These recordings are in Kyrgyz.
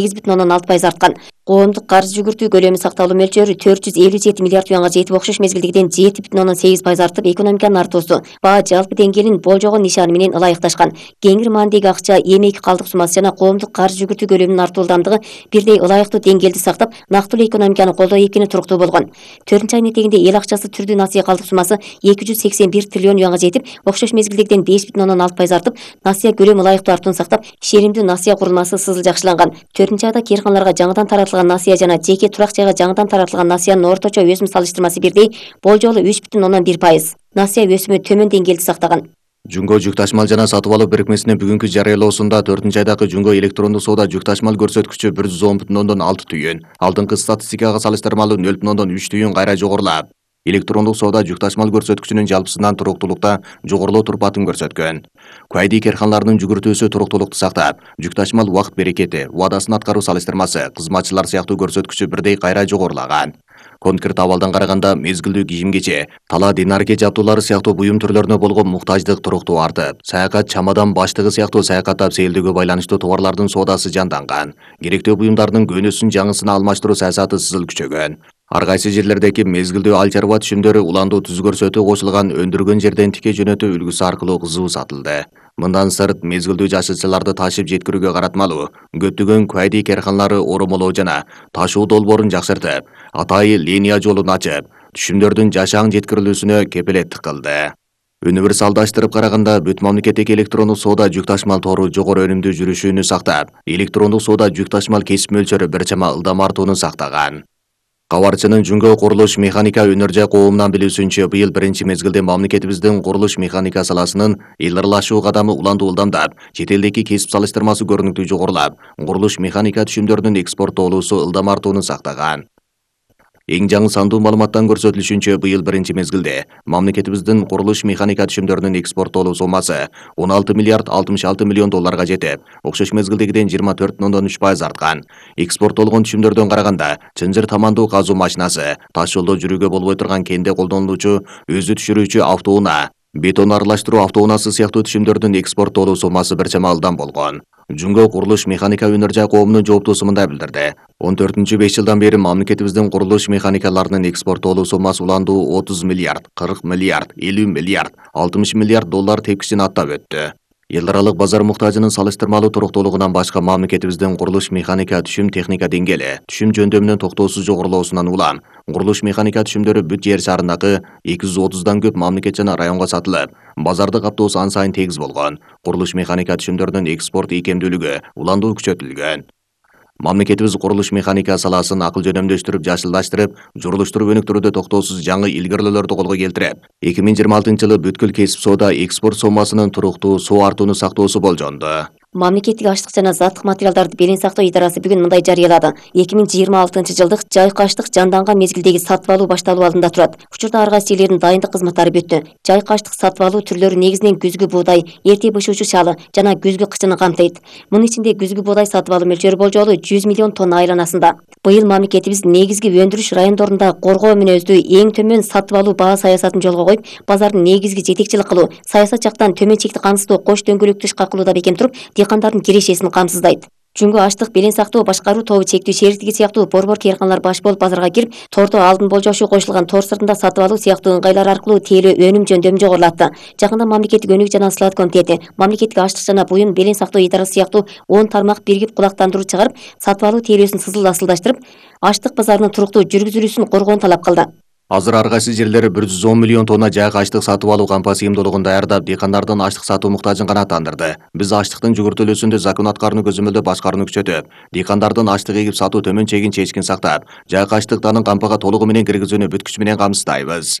8,6% арткан. Коомдук каржы жүгүртүү көлөмү сакталуу мөлчөрү 457 миллиард юанга жетип, окшош мезгилдегиден 7,8% артып, экономиканын артуусу баа жалпы деңгээлин болжогон нишаны менен ылайыкташкан. Кеңири маанидеги акча, эмек, калдык суммасы жана коомдук каржы жүгүртүү көлөмүнүн артуу ылдамдыгы бирдей ылайыктуу деңгээлди сактап, нактылуу экономиканы колдоо экени туруктуу болгон. 4-ай нетегинде эл акчасы түрдүү насыя калдык суммасы 281 триллион юанга жетип, окшош мезгилдегиден 5,6% артып, насыя көлөмү ылайыктуу артууну сактап, шеримдүү насыя курулмасы сызыл жакшыланган. 4-айда кээрканаларга жаңыдан таратылган насыя жана жеке турак жайга жаңыдан таратылган насыянын орточо өсүм салыштырмасы бирдей болжолу 3,1%. Насыя өсүмү төмөн деңгээлди сактаган. Жунго жүк ташмал жана сатып алуу бирикмесинин бүгүнкү жарыялоосунда 4-айдагы Жунго электрондук соода жүк ташмал көрсөткүчү 110,6 түйүн, алдыңкы статистикага салыштырмалуу 0,3 түйүн кайра жогорулап, электрондук соода жүк ташмал көрсөткүчүнүн жалпысынан туруктуулукта жогорулоо турпатын көрсөткөн. Куайди керканаларынын жүгүртүүсү туруктуулукту сактап, жүк ташмал убакыт берекети, убадасын аткаруу салыштырмасы, кызматчылар сыяктуу көрсөткүчү бирдей кайра жогорулаган. Конкрет абалдан караганда мезгилдүү кийим-кече, тала динарке жабдуулары сыяктуу буюм түрлөрүнө болгон муктаждык туруктуу артып, саякат чамадан баштыгы сыяктуу саякаттап сейилдөөгө байланыштуу товарлардын соодасы жанданган. Керектүү буюмдардын көнөсүн жаңысына алмаштыруу саясаты сызыл күчөгөн. Ар кайсы жерлердеги мезгилдүү ал чарба түшүмдөрү уландуу түз көрсөтүү кошулган өндүргөн жерден тике жөнөтүү үлгүсү аркылуу кызуу сатылды. Мындан сырт мезгилдүү жашылчаларды ташып жеткирүүгө каратмалуу көптөгөн Куайди керканалары оромолоо жана ташуу долбоорун жакшыртып, атайы линия жолун ачып, түшүмдөрдүн жашаң жеткирилүүсүнө кепилеттик кылды. Универсалдаштырып караганда бүт мамлекеттик электрондук соода жүк ташмал тору жогору өнүмдүү жүрүшүүнү сактап, электрондук соода жүк ташмал кесип мөлчөрү бир чама ылдам артууну сактаган. Кабарчынын Жунго курулуш механика өнөр жай коомунан билүүсүнчө, быйыл биринчи мезгилде мамлекетибиздин курулуш механика саласынын илгырлашуу кадамы уландуу ылдамдап, чет элдеги кесип салыштырмасы көрүнүктүү жогорулап, курулуш механика түшүмдөрүнүн экспорттоолуусу ылдам артууну сактаган. Эң жаңы сандуу маалыматтан көрсөтүлүшүнчө, быйыл биринчи мезгилде мамлекетибиздин курулуш механика түшүмдөрүнүн экспорттоолуу сомасы 16 миллиард 66 миллион долларга жетип, окшош мезгилдегиден 24,3% арткан. Экспорттолгон түшүмдөрдөн караганда, чынжыр тамандуу казуу машинасы, таш жолдо жүрүүгө болбой турган кенде колдонулуучу өзү түшүрүүчү автоунаа, бетон аралаштыруу автоунаасы сыяктуу түшүмдөрдүн экспорттоолуу сомасы бир чама ылдам болгон. Жунго курулуш механика өнөр жай коомунун жооптуусу мындай билдирди. 14-5 жылдан бери мамлекетибиздин курулуш механикаларынын экспорттоолуу сомасы уландуу 30 миллиард, 40 миллиард, 50 миллиард, 60 миллиард доллар тепкичин аттап өттү. Эл аралык базар муктажынын салыштырмалуу туруктуулугунан башка мамлекетибиздин курулуш механика түшүм техника деңгээли, түшүм жөндөмүнүн токтоосуз жогорулоосунан улам, курулуш механика түшүмдөрү бүт жер шарындагы 230дан көп мамлекет жана районго сатылып, базарды каптоосу ан сайын тегиз болгон. Курулуш механика түшүмдөрүнүн экспорт ийкемдүүлүгү уландуу күчөтүлгөн. Мамлекетибиз курулуш механика саласын акыл жөнөмдөштүрүп, жашылдаштырып, журулуштуруп өнүктүрүүдө токтоосуз жаңы илгерүүлөрдү колго келтирип, 2026-жылы бүткүл кесип соода экспорт сомасынын туруктуу соо артууну сактоосу болжонду. Мамлекеттик аштык жана заттык материалдарды белең сактоо идарасы бүгүн мындай жарыялады. 2026-жылдык жайкы аштык жанданган мезгилдеги сатып алуу башталуу алдында турат. Учурда ар кайсы жерлердин дайындык кызматтары бүттү. Жайкы аштык сатып алуу түрлөрү негизинен күзгү буудай, эрте бышуучу шалы жана күзгү кычыны камтыйт. Мунун ичинде күзгү буудай сатып алуу мөлчөрү болжолу 100 миллион тонна айланасында. Быйыл мамлекетибиз негизги өндүрүш райондорунда коргоо мүнөздүү эң төмөн сатып алуу баа саясатын жолго коюп, базардын негизги жетекчилик кылуу, саясат жактан төмөн чекти камсыздоо кош дөңгөлөктү ишке кылууда бекем туруп, дыйкандардын кирешесин камсыздайт. Жунго аштык белең сактоо башкаруу тобу чектүү шериктиги сыяктуу борбор керканалар баш болуп базарга кирип, тордо алдын болжошуу кошулган тор сыртында сатып алуу сыяктуу ыңгайлар аркылуу тиелөө өнүм жөндөмүн жогорулатты. Жакында мамлекеттик өнүк жана слат комитети, мамлекеттик аштык жана буюм белең сактоо идарасы сыяктуу 10 тармак биригип кулактандыруу чыгарып, сатып алуу тиелөөсүн сызыл асылдаштырып, аштык базарынын туруктуу жүргүзүлүүсүн коргоону талап кылды. Азыр ар кайсы жерлери 110 миллион тонна жайкы аштык сатып алуу кампа сыйымдуулугун даярдап, дыйкандардын аштык сатуу муктажын канааттандырды. Биз аштыктын жүгүртүлүүсүндө закон аткарууну көзөмөлдөп башкарууну күчөтүп, дыйкандардын аштык эгип сатуу төмөн чегин чечкин сактап, жайкы аштыктарын кампага толугу менен киргизүүнү бүт күч менен камсыздайбыз.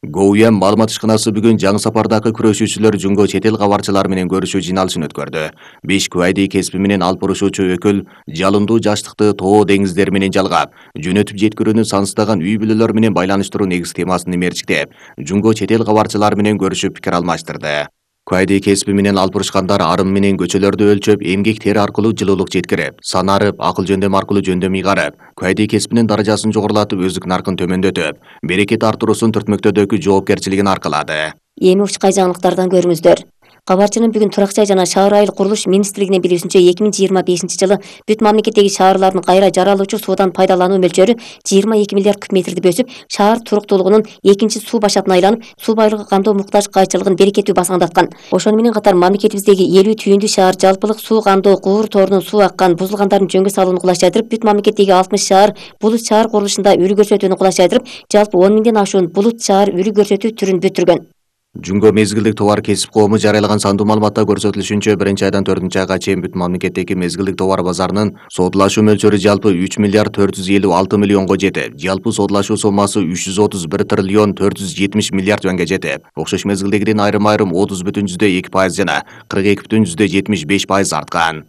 ГОУЯМ маалымат ишканасы бүгүн жаңы сапардагы күрөшүүчүлөр Жунго чет эл кабарчылары менен көрүшүү жыйналышын өткөрдү. 5 Куайди кесиби менен алып урушуучу өкүл жалындуу жаштыкты тоо деңиздер менен жалгап, жөнөтүп жеткирүүнү санстаган үй бүлөлөр менен байланыштыруу негиз темасын мерчиктеп, Жунго чет эл кабарчылары менен көрүшүп пикир алмаштырды. Куайди кесиби менен алып урушкандар арым менен көчөлөрдү өлчөп, эмгек тери аркылуу жылуулук жеткирип, санарып, акыл жөндөм аркылуу жөндөм ыйгарып, Куайди кесибинин даражасын жогорулатып, өздүк наркын төмөндөтүп, берекет артуруусун түртмөктөөдөгү жоопкерчилигин аркылады. Эми учкай жаңылыктардан көрүңүздөр. Кабарчынын бүгүн Турак жай жана шаар айыл курулуш министрлигинин билүүсүнчө 2025-жылы бүт мамлекеттеги шаарлардын кайра жаралуучу суудан пайдалануу мөлчөрү 22 миллиард куб метрди өсүп, шаар туруктуулугунун экинчи суу башатына айланып, суу байлыгы кандоо муктаж кайчылыгын берекеттүү басаңдаткан. Ошону менен катар мамлекетибиздеги 50 түйүндүү шаар жалпылык суу кандоо куур торунун суу аккан, бузулгандардын жөнгө салууну кулайчайдырып, бүт мамлекеттеги 60 шаар булут шаар курулушунда үлгү көрсөтүүнү кулайчайдырып, жалпы 10 миңден ашуун булут шаар үлгү көрсөтүү түрүн бүтүргөн. Жунго мезгилдик товар кесип коому жарыялаган сандуу маалыматта көрсөтүлүшүнчө 1-айдан 4-айга чейин бүт мамлекеттеги мезгилдик товар базарынын соодулашуу мөлчөрү жалпы 3 миллиард 456 миллионго жетип, жалпы соодулашуу соммасы 331 триллион 470 миллиард юанга жетип, окшош мезгилдегиден айрым-айрым 30,2% жана 42,75% арткан.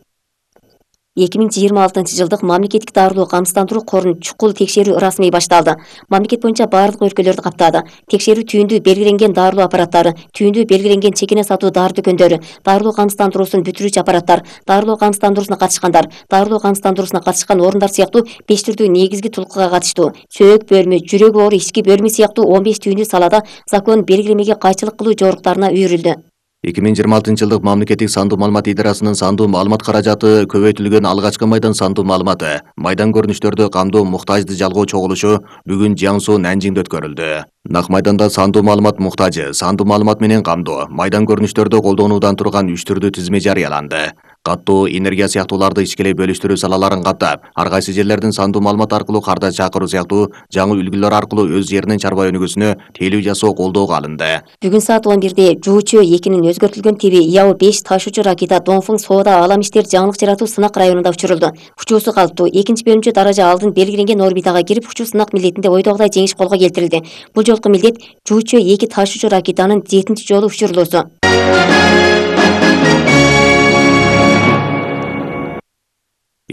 2026 жылдык мамлекеттик дарылоо камсыздандыруу корун чукул текшерүү расмий башталды. Мамлекет боюнча баардык өлкөлөрдү каптады. Текшерүү түйүндүү белгиленген дарылоо аппараттары, түйүндүү белгиленген чекине сатуу дары дүкөндөрү, дарылоо камсыздандыруусун бүтүрүүчү аппараттар, дарылоо камсыздандыруусуна катышкандар, дарылоо камсыздандыруусуна катышкан орундар сыяктуу 5 түрдүү негизги тулкуга катыштуу. Сөөк бөлмө, жүрөк оор ички бөлмө сыяктуу 15 түйүндүү салада закон белгилемеге кайчылык кылуу жоруктарына үйрүлдү. 2026 жылдык мамлекеттик сандуу маалымат идарасынын сандуу маалымат каражаты көбөйтүлгөн алгачкы майдан сандуу маалыматы, майдан көрүнүштөрдү камдоо муктажды жалгоо чогулушу бүгүн Жаңсу Нанжиңде өткөрүлдү. Нак майданда сандуу маалымат муктажы, сандуу маалымат менен камдоо, майдан көрүнүштөрдү колдонуудан турган 3 түрдүү тизме жарыяланды. Каттоо, энергия сыяктууларды ичкилей бөлүштүрүү салаларын каттап, ар кайсы жерлердин сандуу маалымат аркылуу карда чакыруу сыяктуу жаңы үлгүлөр аркылуу өз жеринин чарба өнүгүүсүнө тейлөө жасоо колдоого алынды. Бүгүн саат 11-де Жуучу 2-нин өзгөртүлгөн тиби Яо-5 ташуучу ракета Донфың соода алам иштер жаңылык жаратуу сынак районунда учурулду. Учуусу калыптуу. Экинчи бөлүмчө даража алдын белгиленген орбитага кирип, учуу сынак милдетинде ойдогудай жеңиш колго келтирилди. Бул жолку милдет Жуучу 2 ташуучу ракетанын 7-чи жолу учурулуусу.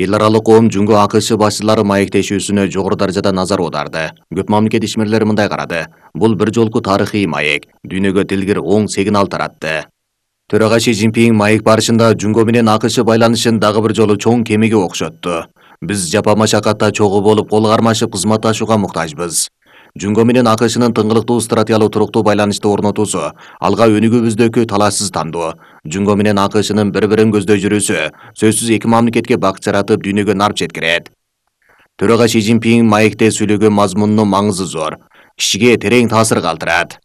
Эл аралык коом Жунго АКШ башчылары маектешүүсүнө жогору даражада назар аударды. Көп мамлекет ишмерлери мындай карады. Бул бир жолку тарыхый маек, дүйнөгө дилгир оң сигнал таратты. Төрага Си Цзиньпин маек барышында Жунго менен АКШ байланышын дагы бир жолу чоң кемеге окшотту. Биз жапа машакатта чогуу болуп кол кармашып кызматташууга муктажбыз. Жунго менен АКШнын тыңгылыктуу стратегиялык туруктуу байланышты орнотуусу, алга өнүгүүбүздөгү талашсыз тандоо, Жунго менен АКШнын бири-бирин көздөй жүрүүсү сөзсүз эки мамлекетке бакыт жаратып, дүйнөгө нарп жеткирет. Төрага Си Цзиньпин маекте сүйлөгөн мазмунунун маңызы зор, кишиге терең таасир калтырат.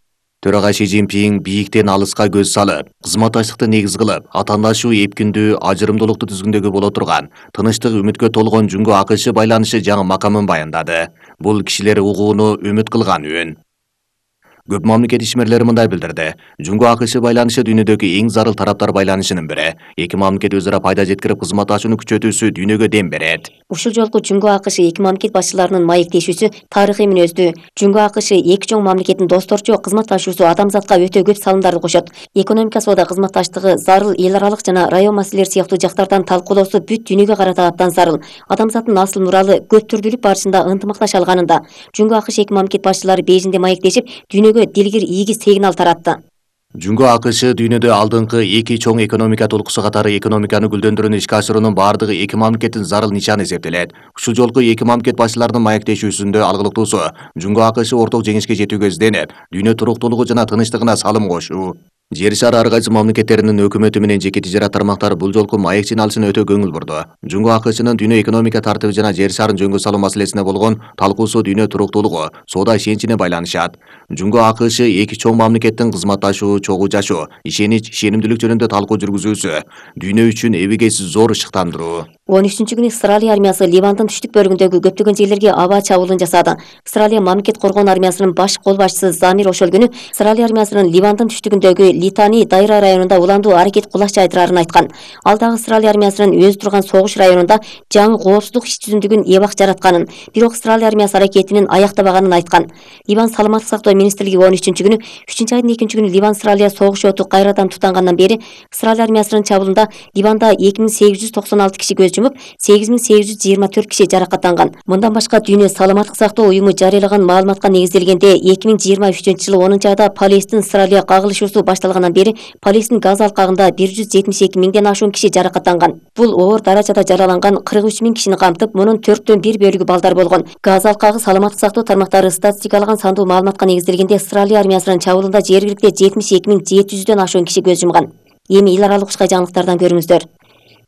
Төрага Си Цзиньпин бийиктен алыска көз салып, кызматташтыкты негиз кылып, атаандашуу эпкиндүү, ажырымдуулукту түзгүндөгү боло турган, тынычтык, үмүткө толгон Жунго АКШ байланышы жаңы макамын баяндады. Бул кишилер угууну үмүт кылган үн. Көп мамлекет ишмерлери мындай билдирди. Жунго АКШ байланышы дүйнөдөгү эң зарыл тараптар байланышынын бири. Эки мамлекет өзара пайда жеткирип, кызматташууну күчөтүүсү дүйнөгө дем берет. Ушул жолку Жунго АКШ эки мамлекет башчыларынын маектешүүсү тарыхый мүнөздүү. Жунго АКШ эки чоң мамлекеттин досторчу кызматташуусу адамзатка өтө көп салымдарды кошот. Экономика, соода, кызматташтыгы, зарыл эл аралык жана район маселелери сыяктуу жактардан талкуулоосу бүт дүйнөгө карата абдан зарыл. Адамзаттын асыл муралы көп түрдүүлүк барышында ынтымакташа алганында Жунго АКШ эки мамлекет башчылары Бейжиңде маектешип, дүйнөгө дилгир ийги сигнал таратты. Жунго АКШ дүйнөдө алдыңкы эки чоң экономика толкусу катары экономиканы гүлдөндүрүүнү ишке ашыруунун баардыгы эки мамлекеттин зарыл нишаны эсептелет. Ушул жолку эки мамлекет башчыларынын маектешүүсүндө алгылыктуусу Жунго АКШ орток жеңишке жетүүгө изденип, дүйнө туруктуулугу жана тынчтыгына салым кошуу. Жер шары ар кайсы мамлекеттеринин өкмөтү менен жеке тижарат тармактары бул жолку маек жыйналышына өтө көңүл бурду. Жунго АКШнын дүйнө экономика тартиби жана жер шарын жөнгө салуу маселесине болгон талкуусу дүйнө туруктуулугу, соода ишеничине байланышат. Жунго АКШ эки чоң мамлекеттин кызматташуу, чогуу жашоо, ишенич, ишенимдүүлүк жөнүндө талкуу жүргүзүүсү дүйнө үчүн эбегейсиз зор ышыктандыруу. 13-күнү Австралия армиясы Ливандын түштүк бөлүгүндөгү көптөгөн жерлерге аба чабуулун жасады. Австралия мамлекет коргоон армиясынын баш кол башчысы Замир ошол күнү Австралия армиясынын Ливандын түштүгүндөгү Литани дайра районунда уландуу аракет кулаш жайдырарын айткан. Ал дагы Австралия армиясынын өзү турган согуш районунда жаңы коопсуздук иш түзүмдүгүн эбак жаратканын, бирок Австралия армиясы аракетинин аяктабаганын айткан. Ливан саламаттык сактоо министрлиги 13-күнү 3-айдын 2-күнү Ливан Австралия согуш оту кайрадан тутангандан бери Австралия армиясынын чабуулунда Ливанда 2896 киши көз жумуп, 8824 киши жаракаттанган. Мындан башка Дүйнө саламаттык сактоо уюму жарыялаган маалыматка негизделгенде 2023-жылы 10-айда Палестин Австралия кагылышуусу башталгандан бери Палестин Газ алкагында 172 миңден ашуун киши жаракаттанган. Бул оор даражада жараланган 43 миң кишини камтып, мунун 4/1 бөлүгү балдар болгон. Газ алкагы саламаттык сактоо тармактары статистикалаган сандуу маалыматка негизделгенде Австралия армиясынын чабуулунда жергиликте 72 700дөн ашуун киши көз жумган. Эми эл аралык ушкай жаңылыктардан көрүңүздөр.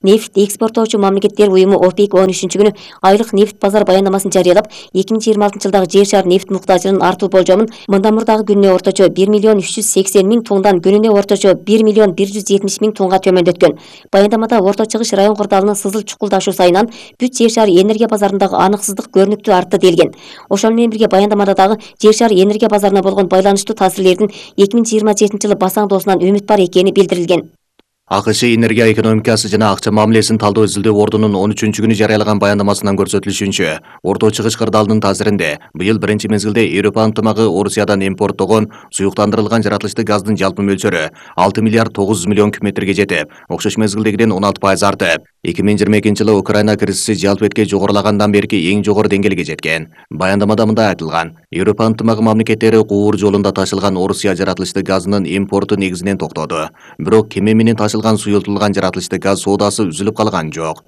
Нефт экспорттоочу мамлекеттер уюму ОПЕК 13-күнү айлык нефт базар баяндамасын жарыялап, 2026-жылдагы жер шаар нефт муктажынын артуу болжомун мындан мурдагы күнүнө орточо 1.380.000 тоннадан күнүнө орточо 1.170.000 тоннага төмөндөткөн. Баяндамада Орто Чыгыш район кырдаалынын сызыл чукулдашуу сайынан бүт жер шаар энергия базарындагы аныксыздык көрүнүктүү артты делген. Ошол менен бирге баяндамада дагы жер шаар энергия базарына болгон байланыштуу таасирлердин 2027-жылы басаңдоосунан үмүт бар экени билдирилген. АКШ энергия экономикасы жана акча мамилесин талдоо изилдөө ордунун 13-күнү жарыялаган баяндамасынан көрсөтүлүшүнчө, Орто Чыгыш кырдаалынын таасиринде быйыл биринчи мезгилде Европа ынтымагы Орусиядан импорттогон суюктандырылган жаратылыштуу газдын жалпы мөлчөрү 6 миллиард 900 миллион кубметрге жетип, окшош мезгилдегиден 16% артып, 2022-жылы Украина кризиси жалпы этке жогорулагандан берки эң жогору деңгээлге жеткен. Баяндамада мындай айтылган: Европа ынтымагы мамлекеттери куур жолунда ташылган Орусия жаратылыштуу газынын импорту негизинен токтоду. Бирок кеме менен ташылган суюлтулган жаратылыштуу газ соодасы үзүлүп калган жок.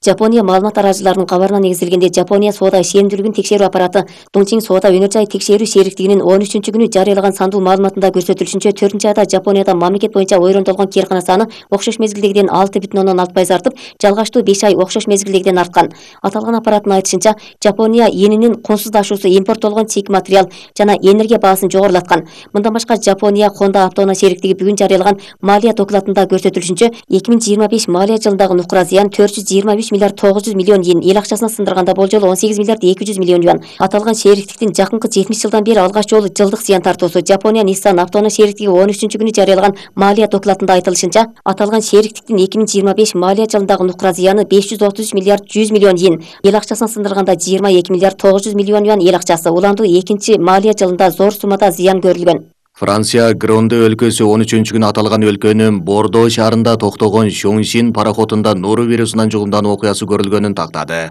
Жапония маалымат арачыларынын кабарына негизделгенде Жапония соода ишенимдүүлүгүн текшерүү аппараты Дongqing соода өнөр жай текшерүү шериктигинин 13-күнү жарыялаган сандуу маалыматында көрсөтүлүшүнчө 4-айда Жапонияда мамлекет боюнча ойрондолгон кээркана саны окшош мезгилдегиден 6,6% артып, жалгаштуу 5 ай окшош мезгилдегиден арткан. Аталган аппараттын айтышынча, Жапония йенинин консуздашуусу импорттолгон чийик материал жана энергия баасын жогорулаткан. Мындан башка Жапония Honda автоунаа шериктиги бүгүн жарыялаган малия докладында көрсөтүлүшүнчө 2025 малия жылындагы нукура зыян 423 миллиард 900 миллион йен, эл акчасына сындырганда болжолу 18 миллиард 200 миллион юан. Аталган шериктиктин жакынкы 70 жылдан бери алгач жолу жылдык зыян тартуусу. Жапония Nissan автоунаа шериктиги 13-күнү жарыялаган малия докладында айтылышынча, аталган шериктиктин 2025 малия жылындагы нукура зыяны 533 миллиард 100 миллион йен, эл акчасына сындырганда 22 миллиард 900 миллион юан эл акчасы. Уландуу экинчи малия жылында зор суммада зыян көрүлгөн. Франция Гронде өлкөсү 13-күнү аталган өлкөнүн Бордо шаарында токтогон Шоңшин пароходунда нору вирусунан жугумдануу окуясы көрүлгөнүн тактады.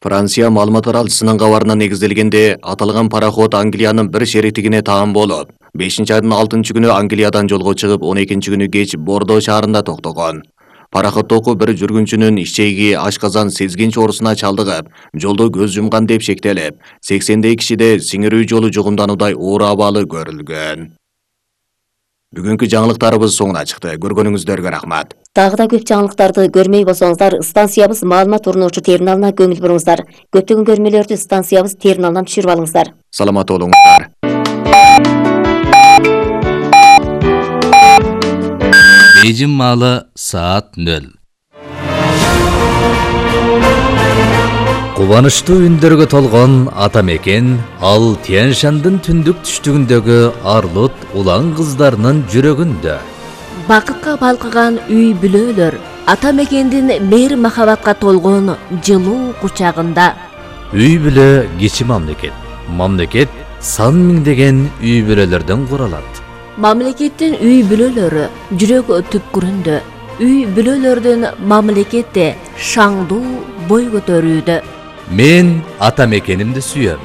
Франция маалымат аралчысынын кабарына негизделгенде, аталган пароход Англиянын бир шериктигине таан болуп, 5-айдын 6-күнү Англиядан жолго чыгып, 12-күнү кеч Бордо шаарында токтогон. Пароходдогу бир жүргүнчүнүн ишчеги ашказан сезгинч оорусуна чалдыгып, жолдо көз жумган деп шектелип, 80дей кишиде сиңирүү жолу жугумдануудай оор абалы көрүлгөн. Бүгүнкү жаңылыктарыбыз соңуна чыкты. Көргөнүңүздөргө рахмат. Дагы да көп жаңылыктарды көрмөй болсоңуздар, станциябыз маалымат орнотуучу терминалына көңүл буруңуздар. Көптөгөн көрмөлөрдү станциябыз терминалынан түшүрүп алыңыздар. Саламат болуңуздар. Бейжин маалы саат 0. Кубанычтуу үндөргө толгон ата мекен ал Тянь-Шандын түндүк түштүгүндөгү арлыт улан кыздарынын жүрөгүндө. Бакытка балкыган үй бүлөлөр ата мекендин мейир махабатка толгон жылуу кучагында. Үй бүлө кичи мамлекет. Мамлекет сан миңдеген үй бүлөлөрдөн куралат. Мамлекеттин үй бүлөлөрү жүрөк түпкүрүндө. Үй бүлөлөрдүн мамлекетте шаңдуу бой көтөрүүдө. Мен ата мекенимди сүйөм.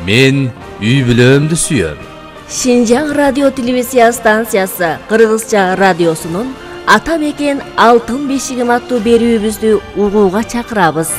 Мен үй бүлөмдү сүйөм. Шинжаң радио телевизия станциясы Кыргызча радиосунун Ата мекен алтын бешигим аттуу берүүбүздү угууга чакырабыз.